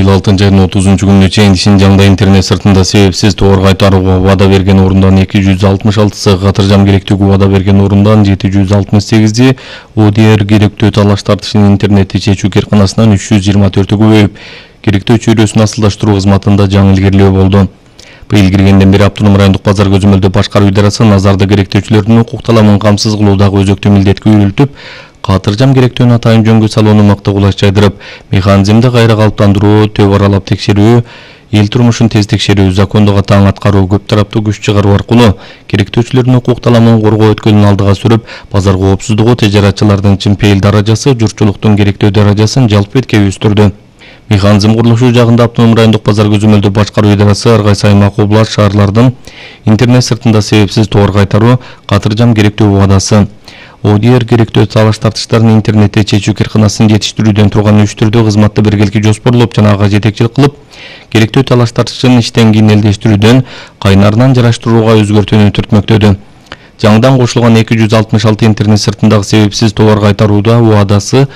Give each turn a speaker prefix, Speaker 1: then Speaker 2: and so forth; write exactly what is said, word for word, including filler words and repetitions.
Speaker 1: быйыл алтынчы айдын отузунчу күнүнө чейин Шинжаңда интернет сыртында себепсиз товар кайтарууга убада берген орундан эки жүз алтымыш алтысы, катыржам керектүүгө убада берген орундан жети жүз алтымыш сегизи, ОДР керектөө талаш тартышын интернетти чечүү керканасынан үч жүз жыйырма төртү көбөйүп, керектөө чөйрөсүн асылдаштыруу кызматында жаңы илгерилөө болду. Быйыл киргенден бери автоном райондук базар көзөмөлдөө башкаруу идарасы назарды керектөөчүлөрдүн укук таламын камсыз кылуудагы өзөктүү милдетке үйрөлтүп, катыржам керектөөнү атайын жөнгө салууну мыкты кулаш жайдырып, механизмди кайра калыптандыруу, төп аралап текшерүү, эл турмушун тез текшерүү, закондук таң аткаруу, көп тараптуу күч чыгаруу аркылуу керектөөчүлөрдүн укук таламын коргоо өткөлүн алдыга сүрүп, базар коопсуздугу, тежаратчылардын чынпейил даражасы, журтчулуктун керектөө даражасын жалпы эткей өстүрдү. Механизм курулушу жагында автоном райондук базар көзөмөлдөө башкаруу идарасы ар кайсы аймак, област, шаарлардын интернет сыртында себепсиз товар кайтаруу, катыржам керектөө убадасы, ОДР керектөө талаш тартыштарын интернетте чечүү керканасын жетиштирүүдөн турган үч түрдүү кызматты биргеликте жоспорлоп жана ага жетекчилик кылып, керектөө талаш тартышын иштен кийин элдештирүүдөн, кайнарынан жараштырууга өзгөртүүнү түртмөктөдү. Жаңыдан кошулган эки жүз алтымыш алты интернет сыртындагы себепсиз товар кайтарууда убадасы